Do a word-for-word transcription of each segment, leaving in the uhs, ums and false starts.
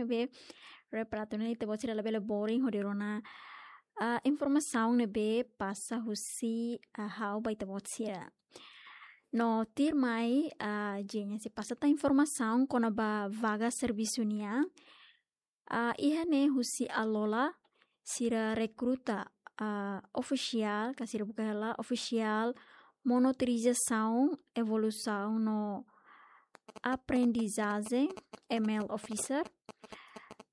Be, repara atu nune'e ita-boot sira labele boring hodi rona, ah, informasaun ne'ebé pasa husi, ah, ha'u ba ita-boot sira. No tuirmai, ah, Jenia sei pasa tan informasaun kona-ba vaga servisu nian. Ah, iha ne'e husi Alola sira rekruta, ah, ofisiál, ka sira buka hela ofisiál monitorizasaun, evolusaun no aprendizajen, M L officer.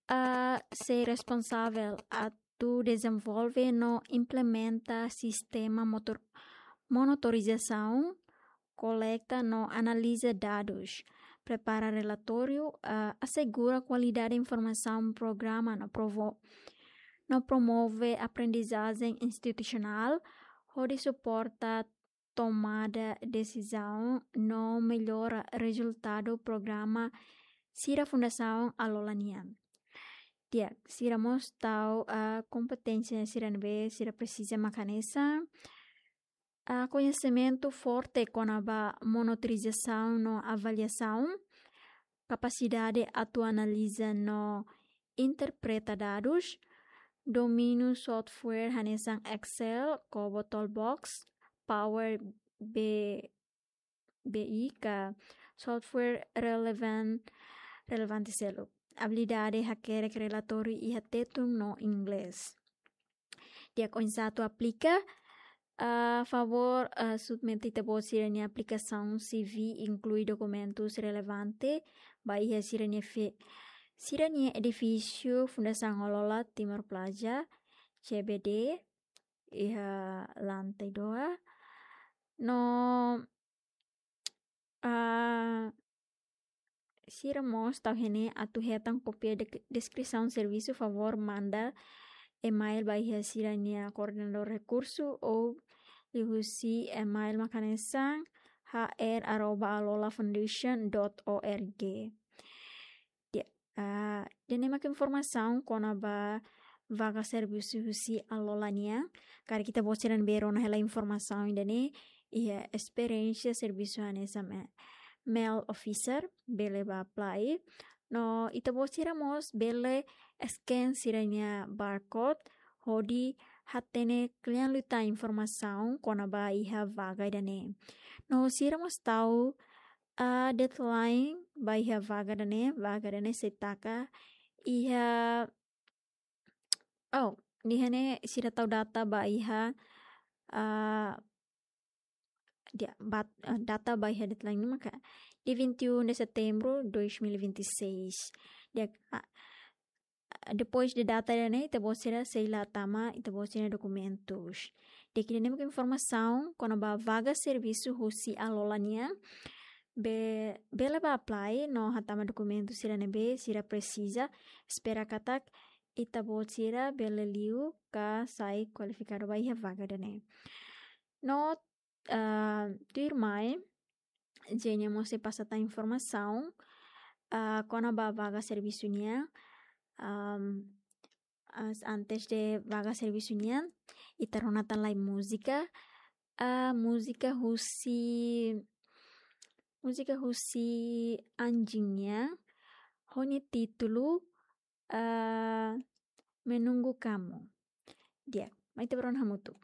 Ah, sei responsavel atu dezenvolve no implementa sistema motor-, monitorizasaun, koleta no analiza dadus, prepara relatóriu, ah, asegura kualidade informasaun, programa no provo-, no promove aprendizajen institusionál, hodi suporta tomada desizaun no mellora rezultadu programa sira Fundasaun Alola nian. Di'ak, sira mós tau, ah, kompeténsia sira ne'ebé sira presiza mak hanesan, ah, koñesimentu forte kona-ba monitorizasaun no avaliasaun, kapasidade atu analiza no interpreta dadus, domíniu software hanesan Excel, COBO Toolbox, Power B-, B I ka software relevan-, relevante seluk. Abilidade hakerek relatóriu iha Tetun no Inglés. Di'ak, oinsá atu aplika, ah, favór, ah, submete ita-boot sira-nia aplikasaun, C V, inklui dokumentus relevante ba iha sira-nia fe-, sira-nia edifísiu Fundasaun Alola Timor Plaza, C B D, iha lantai dua. No, ah, sira mós tau iha ne'e atu hetan kópia de-, deskrisaun servisu, favór manda email ba iha sira-nia koordenadór rekursu ou liuhusi email mak hanesan H R arroba alola foundation dot org. Di'ak, ah, ida-ne'e mak informasaun kona-ba vaga servisu husi Alola nian. Karik ita-boot sira ne'ebé rona hela informasaun ida-ne'e iha esperiénsia servisu hanesan me-, M L officer, bele bá apply. No ita-boot sira mós bele scan sira-nia barcode hodi hatene kle'an liután informasaun kona-ba iha vaga ida-ne'e. No sira mós tau, ah, deadline ba iha vaga ida-ne'e, vaga ida-ne'e sei taka iha, oh, iha ne'e sira tau data ba iha, ah, di'ak, bat-, ah, data ba iha deadline ne'e maka dia vinte e um de setembro dois mil e vinte e seis. Di'ak, ah, depois de data ida-ne'e, ita-boot sira sei la tama ita-boot sira-nia dokumentus. Di'ak, ida-ne'e mak informasaun kona-ba vaga servisu husi Alola nian. Be-, bele bá apply no hatama dokumentu sira ne'ebé sira presiza. Espera katak ita-boot sira bele liu ka sai kualifikadu ba iha vaga ida-ne'e. No, ah, tuirmai, Jenia mós sei pasa tan informasaun, ah, kona-ba vaga servisu nian. Am, as-, antes de vaga servisu nian, ita rona tan lai múzika. Ah, múzika husi, múzika husi Anjing nian, ho nia títulu, ah, Menunggu Kamu. Di'ak, mai ita bá rona hamutuk.